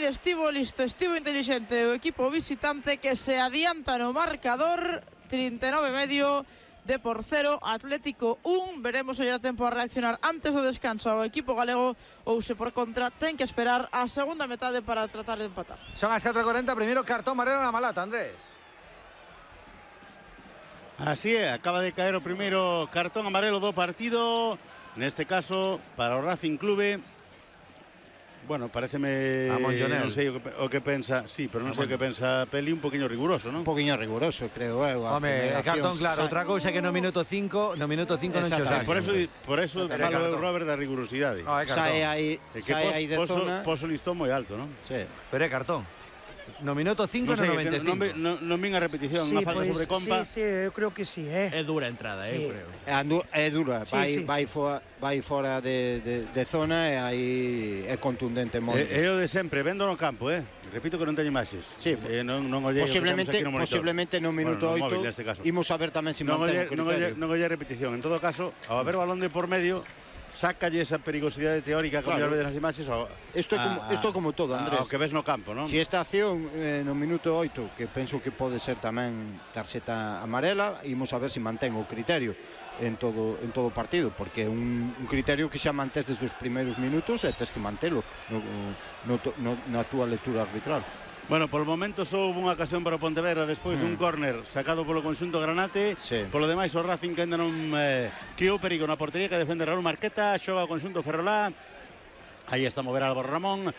estivo listo, estivo inteligente o equipo visitante que se adianta no marcador 39,5 de por 0, Atlético 1. Veremos se lle dá tempo a reaccionar antes do descanso ao equipo galego ou se por contra ten que esperar a segunda metade para tratar de empatar. Son as 4:40, primeiro cartón amarelo na Malata, Andrés. Así é, acaba de caer o primeiro cartón amarelo do partido, neste caso para o Racing Clube. Bueno, pareceme, non sei o que pensa, sí, pero non sei o que pensa Peli, un poquinho riguroso, non? Un poquinho riguroso, creo, Home, cartón claro, outra cousa que no minuto 5 non cho sai. Por eso falo Robert da rigurosidade. Sai aí de zona. Poso listón moi alto, non? Sí. Pero é cartón. No minuto 5 no 95. Non vin a repetición, unha falta sobre Compa. Sí, eu creo que sí, É dura a entrada, sí. Eu creo. É dura, vai fora de zona e aí é contundente moi. É o de sempre, vendo no campo, repito que non teño imaxes. Sí, non ollei posiblemente no minuto 8 imos a ver tamén se mantén o criterio. Non ollei repetición. En todo caso, ao haber balón de por medio, sácalle esa perigosidade teórica como claro. Vedes nas imaxes isto é como todo, Andrés, ao que ves no campo, non? Si esta acción no minuto 8, que penso que pode ser tamén tarxeta amarela, imos a ver se mantén o criterio en todo o partido, porque é un criterio que xa mantés desde os primeiros minutos e tes que mantelo na túa lectura arbitral. Bueno, por o momento só houve unha ocasión para o Pontevedra despois dun córner sacado polo conxunto granate. Sí. Polo demais o Racing que ainda non criou perigo na portería que defende Raúl Marqueta, xoga o conxunto Ferrolá. Aí está a mover Álvaro Ramón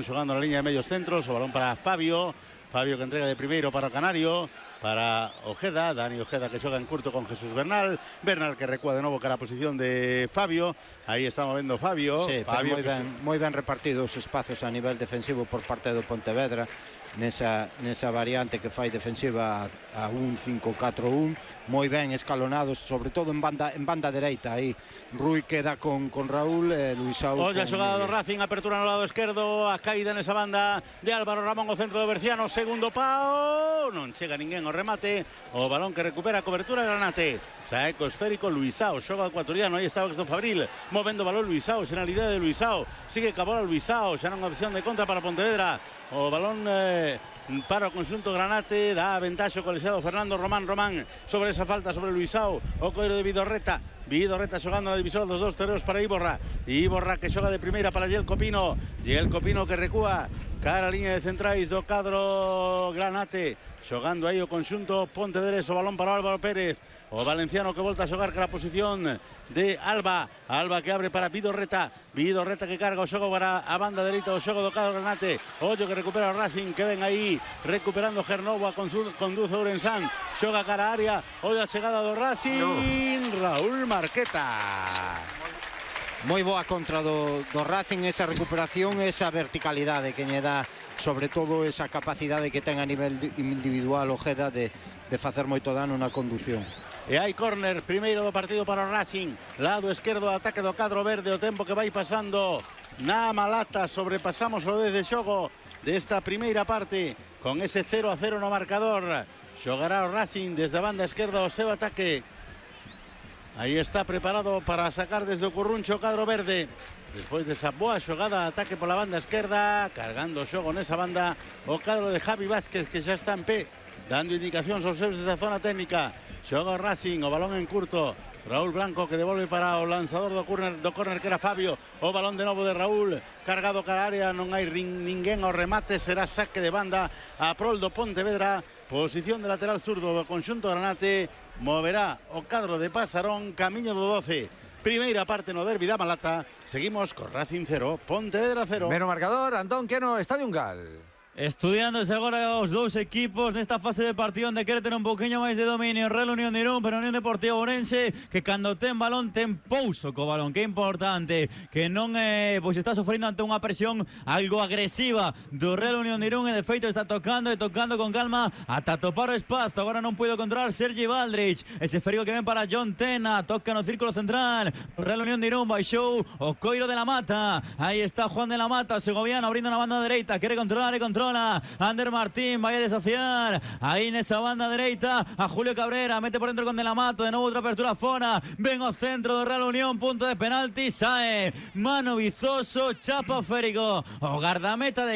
xogando na liña de medios centros, o balón para Fabio que entrega de primeiro para o Canario, para Ojeda, Dani Ojeda que xoga en curto con Jesús Bernal que recúa de novo cara a posición de Fabio. Aí está movendo Fabio. Sí, Fabio moi ben repartidos os espazos a nivel defensivo por parte do Pontevedra nesa variante que fai defensiva a un 5-4-1, moi ben escalonados, sobre todo en banda dereita. Aí Rui queda con Raúl, Luisao. Olla a xogada do Racing, apertura no lado esquerdo, a caída nesa banda de Álvaro Ramón, o centro de Berciano, segundo pau, non chega ninguén ao remate, o balón que recupera a cobertura de Granate. Saeco esférico, Luisao, xoga o ecuatoriano, aí estaba Cristo Fabril, movendo o balón Luisao, xenalidade de Luisao, sigue cabola Luisao, xa non opción de contra para Pontevedra, o balón para o conxunto Granate, dá a ventaxa o colexiado Fernando Román sobre esa falta sobre Luisao, o coiro de Vidorreta xogando na divisora dos dos terreos para Iborra que xoga de primeira para Yel Copino que recúa cara a liña de centrais do cadro Granate, xogando aí o conxunto Pontevedrés, o balón para Álvaro Pérez, o valenciano que volta a xogar cara a posición de Alba que abre para Vidorreta que carga o xogo para a banda dereita, o xogo do cadro Granate, ollo que recupera o Racing, que ven aí recuperando Gernovo, a conduce Ourensán, xoga cara a área, ollo a chegada do Racing, Raúl Marqueta. Moi boa contra do Racing, esa recuperación, esa verticalidade que lle dá, sobre todo esa capacidade que ten a nivel individual Ojeda de facer moito dano na condución. E hai córner primeiro do partido para o Racing, lado esquerdo, ataque do cadro verde, o tempo que vai pasando na Malata, sobrepasamos o 10 de xogo desta primeira parte, con ese 0-0 no marcador. Xogará o Racing desde a banda esquerda o seu ataque. Aí está preparado para sacar desde o curruncho o cadro verde. Despois desa boa xogada, ataque pola banda esquerda, cargando o xogo nesa banda o cadro de Javi Vázquez, que xa está en pé, dando indicacións aos seus desa zona técnica. Xoga o Racing, o balón en curto, Raúl Blanco que devolve para o lanzador do córner que era Fabio, o balón de novo de Raúl, cargado cara a área, non hai ninguén ao remate, será saque de banda a prol do Pontevedra. Posición de lateral zurdo do conxunto Granate, moverá o cadro de Pasarón, camiño do 12. Primeira parte no derbi da Malata, seguimos con Racing 0, Pontevedra 0. Mero marcador, Antón Queno, Estadio Ungal. Estudiándose agora os dous equipos nesta fase de partido onde quere ter un poquinho máis de dominio Real Unión de Irún, pero Unión Deportiva Ourense que cando ten balón ten pouso co balón, que é importante, que non pois está sofrendo ante unha presión algo agresiva do Real Unión de Irún, e de feito está tocando con calma ata topar o espazo. Agora non puido controlar Sergi Valdrich, ese ferigo que ven para John Tena, toca no círculo central, o Real Unión de Irún baixou o coiro de la Mata, aí está Juan de la Mata, segoviano, abrindo na banda dereita, quere controlar e controla Ander Martín, vai a desafiar aí nesa banda dereita a Julio Cabrera, mete por dentro con De la Mata, de novo outra apertura fora, ven ao centro do Real Unión, punto de penalti, sae Mano Vizoso, chapa o férico, o gardameta de